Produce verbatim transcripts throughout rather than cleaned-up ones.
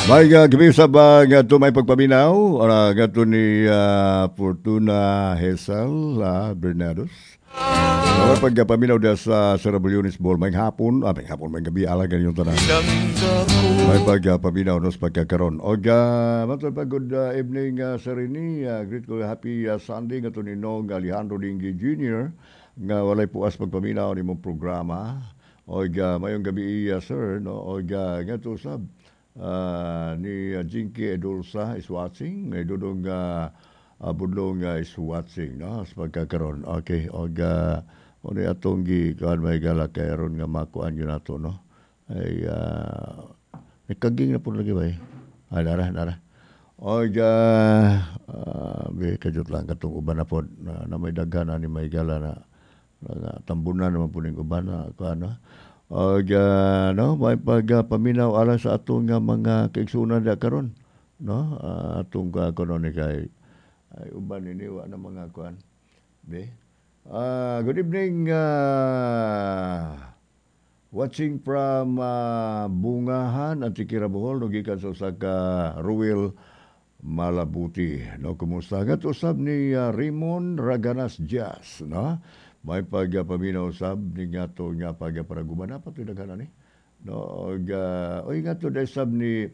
May uh, gabi sa ba nga to may pagpaminaw uh, nga to ni uh, Fortuna Hesal uh, Bernados. May pagpaminaw da sa Sir Bulyonis Ball. May hapon, ah, may hapon, may gabi ala ganyan tanan. May pagpaminaw nos pagkakaron. Og uh, matod pa good uh, evening uh, sir ini. Uh, great ko happy uh, Sunday nga to ni Nong Alejandro Dinggi Jr. nga walay puas pagpaminaw nimong programa. Og uh, mayong gabi uh, sir no og uh, nga to sab uh, ni uh, Jinky Edulsa is watching, may dudong uh, uh, budlong uh, is watching no sa pagkakaron. Okay, og uh, mo ni atong gi kuan may gala kay aron nga makuan yun nato no. Ay uh, may kaging na po lagi ba eh? Ah, nara, nara. Og uh, uh, be kajut lang katong uban na pod na, na may daghan ani may gala na, na tambunan naman po ning uban na kuan no. Og uh, no, may pagpaminaw alang sa atong nga mga kaigsuonan da karon no. Uh, atong uh, kuno ni kay ay uban ini wa na mga kuan. Be. Uh, good evening uh, watching from uh, Bungahan, Antiquera, Bohol, no gikan sa usa ka Ruel Malabuti. No, kumusta nga usab ni uh, Raymond Raganas Jazz, no? May pagpaminaw usab ni nga to nga pagparaguman na patuloy daghan ani. No, og uh, oy nga to sab ni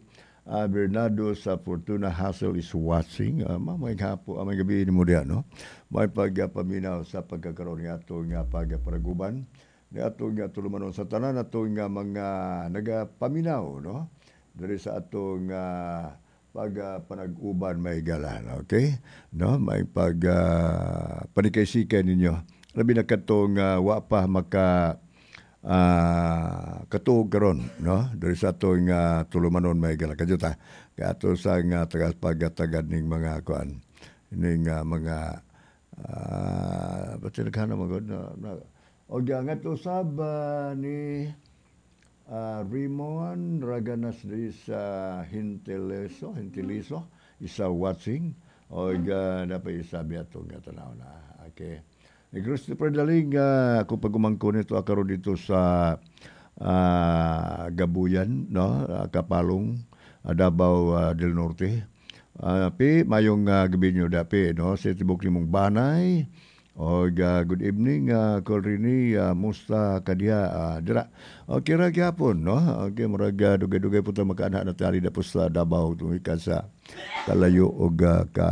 uh, Bernardo sa Fortuna Hassel is watching. Uh, may hapo, uh, may gabi nimo diha, no? May pagpaminaw sa pagkakaroon nga ato nga pagparaguban ni ato nga tulumanon sa tanan ato nga mga nagapaminaw no diri sa atong uh, pag uh, panag-uban may gala okay no may pag uh, panikaysikay ninyo labi na katong uh, wa pa maka uh, katuog karon no diri sa atong uh, tulumanon may gala kajuta kay ato sa nga tagas pagtagad ning mga kuan ning uh, mga uh, ba't naghanap mo na, na Og nga to sab uh, ni uh, Raymond Raganas di sa Hinteleso, Hinteliso, isa watching. Og uh, dapat isabi ato nga tanaw na. Okay. Ni Christopher Daling, uh, ako pag-umangko nito akaron dito sa uh, Gabuyan, no? Uh, Kapalong, uh, Davao uh, del Norte. Uh, pi, mayong uh, gabi nyo dapi, no? Sa tibok nimong banay. Og uh, good evening uh, Kol Rini, uh, musta kadiha uh, dira. Okay ra gyapon no. Okay murag uh, dugay-dugay po ta makaana na tali da po sa Davao tungod sa kalayo og uh, ka